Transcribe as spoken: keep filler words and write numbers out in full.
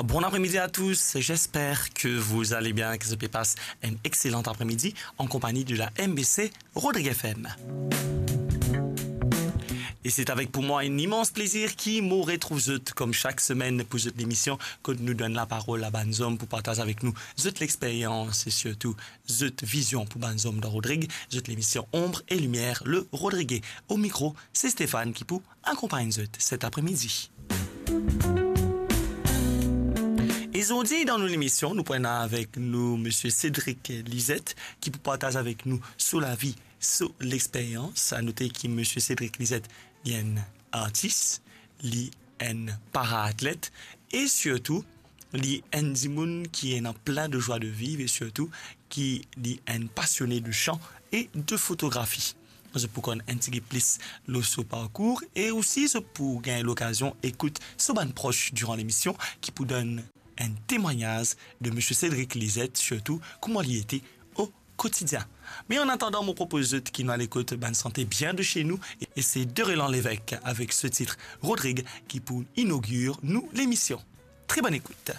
Bon après-midi à tous, j'espère que vous allez bien, que zot pe pas un excellent après-midi en compagnie de la M B C Rodrigue F M. Et c'est avec pour moi un immense plaisir ki mo retrouv zot comme chaque semaine pour zot lemision kot nou donn laparol a bann zom pou partaz avek nou zot lexperyans e sirtou zot vizion pou bann zom dan Rodrig, zot lemision Ombre et Lumière, le Rodrigué. Au micro, c'est Stéphane ki pou akonpagn zot cet après-midi. E zordi dan nou lemision, nou pou ena avek nou Misie Cédric Lisette ki pou partaz avek nou so lavi, so lexperyans. A note ki Misie Cédric Lisette, li enn artis, li enn paraatlet e sirtou li enn dimoun ki ena plin de joie de vivre e sirtou ki li enn pasione de chant et de photographie. Zot pou konn enn tigit plis lor so parkour e osi zot pou gagn lokazion ekout so bann pros diran lemision ki pou donn enn temwagnaz de Misie Cédric Lisette, sirtou kouma li ete o kotidien. Me an atandan, mo propoz zot ki nou al ekout bann sante bien de chez nous, et c'est Derelan Lévesque avec ce titre Rodrig ki pou inogir nou lemision. Très bonne écoute.